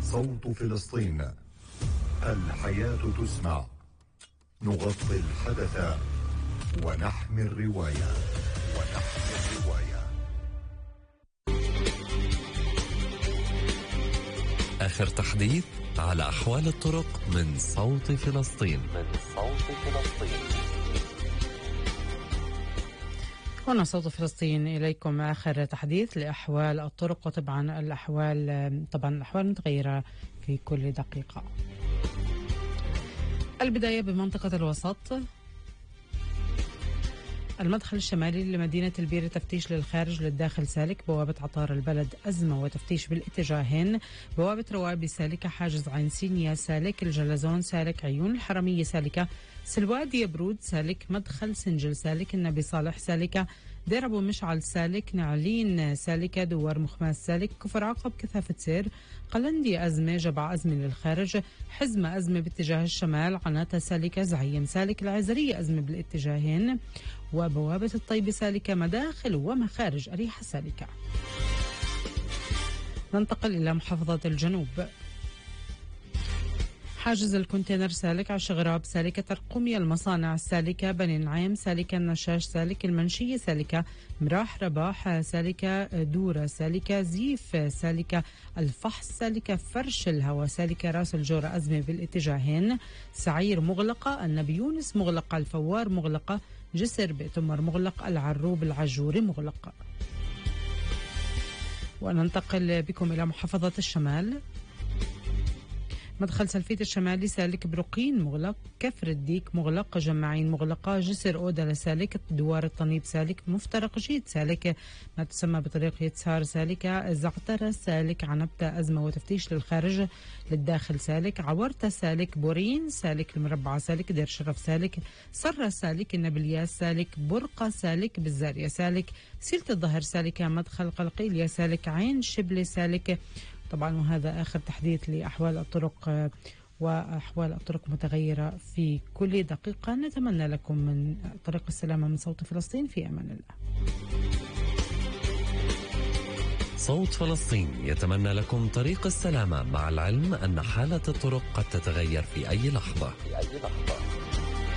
صوت فلسطين، الحياة تسمع، نغطي الحدث ونحمي الرواية. آخر تحديث على أحوال الطرق من صوت فلسطين. هنا صوت فلسطين، إليكم آخر تحديث لأحوال الطرق، وطبعا الأحوال متغيرة في كل دقيقة. البداية بمنطقة الوسط. المدخل الشمالي لمدينة البيرة تفتيش للخارج للداخل سالك، بوابة عطار البلد أزمة وتفتيش بالاتجاهين، بوابة روابي سالكة، حاجز عين سينيا سالك، الجلزون سالك، عيون الحرمية سالكة، سلواد يبرود سالك، مدخل سنجل سالك، النبي صالح سالكة، دير أبو مشعل سالك، نعلين سالكة، دوار مخماس سالك، كفر عقب كثافة سير، قلندي أزمة، جبع أزمة للخارج، حزمة أزمة باتجاه الشمال، عناتة سالكة، زعيم سالك، العزرية أزمة بالاتجاهين، وبوابة الطيبة سالكة، مداخل ومخارج أريحة سالكة. ننتقل إلى محافظة الجنوب. حاجز الكونتينر سالك، عشغراب سالكة، ترقمية المصانع سالكة، بني نعيم سالكة، النشاش سالك، المنشية سالكة، مراح رباح سالكة، دورة سالكة، زيف سالكة، الفحص سالكة، فرش الهواء سالكة، راس الجورة أزمة بالاتجاهين، سعير مغلقة، النبي يونس مغلقة، الفوار مغلقة، جسر بئتمر مغلق، العروب العجوري مغلق. وننتقل بكم إلى محافظة الشمال. مدخل سلفيت الشمالي سالك، برقين مغلق، كفر الديك مغلق، جماعين مغلقة، جسر أودة سالك، دوار الطنيب سالك، مفترق جيد سالك، ما تسمى بطريق يتسار سالكة، زعترة سالك، عنبتة أزمة وتفتيش للخارج للداخل سالك، عورتة سالك، بورين سالك، المربعة سالك، دير شرف سالك، صرة سالك، النبلياس سالك، برقة سالك، بالزارية سالك، سيلة الظهر سالكة، مدخل قلقيلية سالك، عين شبلة سالك. طبعا وهذا آخر تحديث لأحوال الطرق، وأحوال الطرق متغيرة في كل دقيقة. نتمنى لكم من طريق السلامة من صوت فلسطين، في أمان الله. صوت فلسطين يتمنى لكم طريق السلامة، مع العلم أن حالة الطرق قد تتغير في أي لحظة.